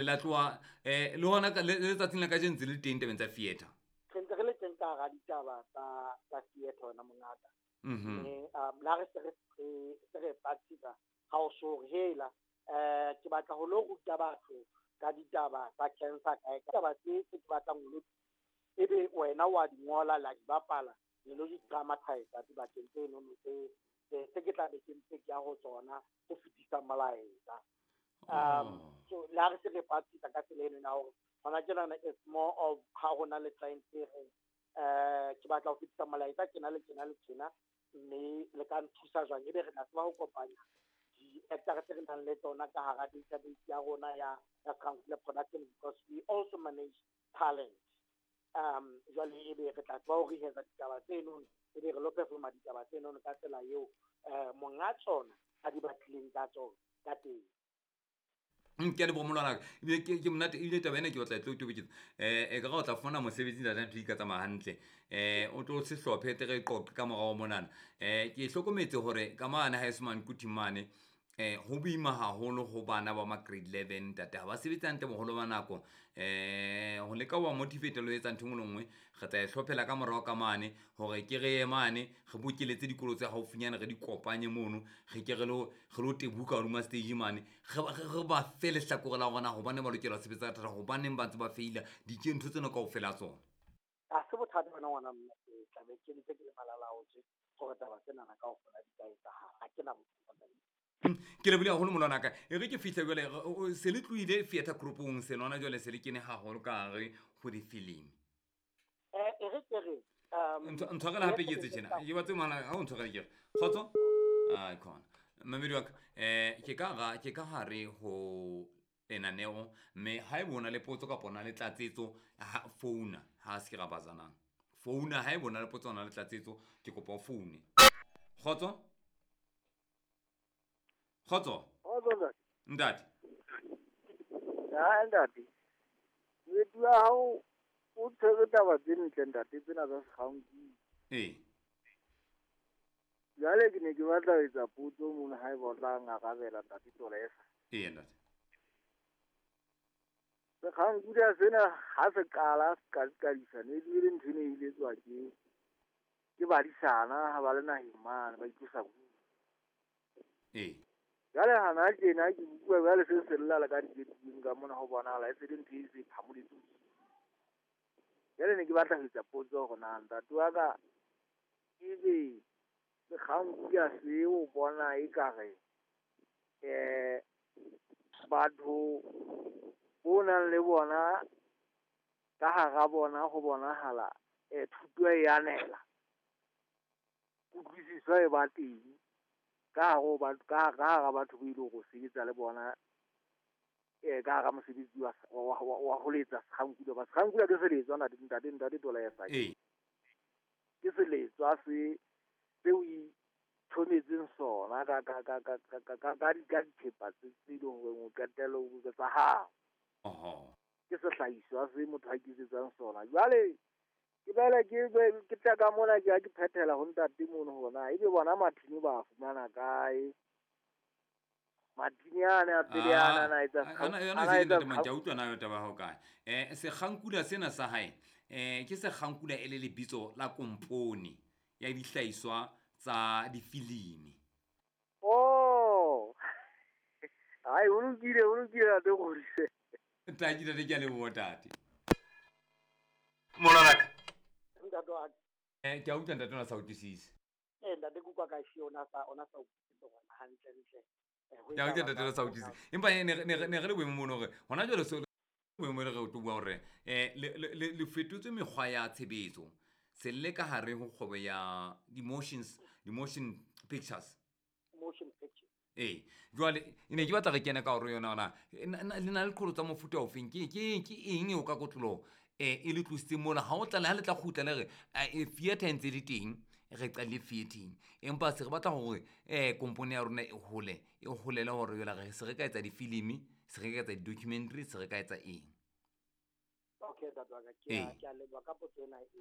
La tloha le hona le letsatsing la kajeno ntse le teng tabeng tsa theatre. Re ntse re le teng ka hara ditaba tsa theatre wena mongaka. Mme le ha re se re se re practice ha o so re hela ke batla ho lo ruta batho ka ditaba tsa cancer kae taba tse tse ke batlang ho lo ebe wena wa di ngola la di bapala le lo di dramatize dibakeng tse nono tse tse ke tla be ke ntse ke ya ho tsona ho fetisa molaetsa. So le ha re se re practice ka tsela eno ya hore hona tjenana it's more of ha ho na le client e reng ke batla ho fetisa molaetsa tjena le tjena le tjena, mme le ka nthusa jwang, ebe re tla tseba ho kopanya di-actor tse re nang le tsona ka hara database ya rona ya Sekhankule Production, because we also manage talent. Jwale ebe re tla tseba ho rehearsa ditaba tseno, ebe re lo performa ditaba tseno ka tsela eo monga tsona a di batlileng ka tsona ka teng. Ke a leboha molwanaka, ebile ke monate, ebile taba ena ke batla e tlo toboketsa. E ka re o tla fumana mosebetsi ntate, ntho di ka tsamaya hantle. O tlo se hlophe tle re qoqe ka morao monana. Ke hlokometse hore ka mane ha eso mane Quthing mane ho boima haholo ho bana ba ma grade 11 ntate, ha ba sebetse hantle boholo ba nako. Ho leka ho ba motivate le ho etsa ntho e nngwe le nngwe, re tla e hlophela ka morao ka mane hore ke re ye mane re bokeletse dikolo tse haufinyana, re di kopanye mono, re ke re lo tebuka hodima stage mane, re ba fe lehlakore la rona hobane ba lokela ho sebetsa ka thata, hobaneng ba ntse ba feila ntho tsena kaofela tsona. Ha se bothata wena ngwana mme, ke tla be ke ntse ke le malalaotswe hore taba tsenana kaofela di ka etsahala, ha ke na bothata. Ke lebohile haholo molwanaka. E re ke fihle jwale, se le tlohile theatre groupong se lona jwale se le kene haholo ka hare ho difilimi. E re ke re, Ntshwarele hape ke etse tjena. Ke batse ngwana, ha o ntshwarele ke re. Kgotso? Ai khona. Mamedi wa ka, ke ka hare ho lenaneo, mme haeba o na le potso kapa o na le tlatsetso, ha founa, ha se ke ra bazanang. Founa haeba o na le potso o na le tlatsetso, ke kopa o foune. Kgotso? Kgotso? Kgotso, ntate. Ntate. Ha, ntate. Moeti wa hao o tshwere taba tse ntle, ntate, tsena tsa Sekgankudu. Ee. Jwale ke ne ke batla ho etsa potso mono haeba o tla ngarabela, ntate Tolesa. Ee, ntate. Sekgankudu sena ha se qala se qadisa, ne e le ntho e ne e iletswa ke badisana ha ba le naheng mane ba itlosa bodutu. Ee. Jwale hana tjena ke bua jwale se se lla le ka diketing ka mona ho bonahala e se le ntho e se phamoletse. Jwale ne ke batla ho etsa potso hore na ntate wa ka ebe Sekgankudu se o bona ekare batho bo nang le bona ka hara bona ho bonahala thuto e anela, kutlwisiso e ba teng ka hare ho batho, ka hara batho bo ile go sebetsa le bona ka hara mosebetsi wa ho letsa Sekgankudu. Ba Sekgankudu ke seletswa, ntate, ntate, ntate Tolesa. Ee. Ke seletswa se seo ithometseng sona ka dithepa tse leng hore o qetelle o tsa hao. Oho. Ke sehlahiswa se motho a iketsetsang sona. Jwale ke bele ke tla ka mona ke ya ke phethela ho ntate mono hore na ebe bona mathini ba fumana kae. Mathini ane a pele ana na etsa Yona ana se etsa ntate Mantja, utlwa na taba ya hao kae. Sekgankula sena sa hae, ke Sekgankula e le lebitso la kompone ya dihlahiswa tsa difilimi. Oh. Hai, o lokile, o lokile ntate Kgodise. Ntate, ntate, ke a leboha, ntate. Molwanaka. Ntate wa ka. Ke a utlwa ntate, o na sa utlwisise. Ntate, ke utlwa ka she ona sa utlwisise hore hantle ntle. Ho Ke a utlwa etsahala ntate, o na sa jwang utlwisise. hona? Empa ne re le boemong mono hore hona jwale so boemong re tlo bua hore le fetotse mekgwa ya tshebetso. Se le ka hare ho kgwebo ya di-motion pictures. Motion pictures. Ee, jwale ne ke batla re kene ka hore yona hona, le na le qholotso tsa mofuta ofeng? Ke eng eo ka kotloloho e le tlositseng mona? Ha o tla le ha le tla kgutla le re, theatre e ntse le teng, re qadile theatreng. Empa se re batla hore kompone ya rona e hole, e holele hore jwale re se re ka etsa difilimi, se re ka etsa di-documentary, se re ka etsa eng? Okay, ntate wa ka, Ee. ke a leboha ka potso ena e ntle.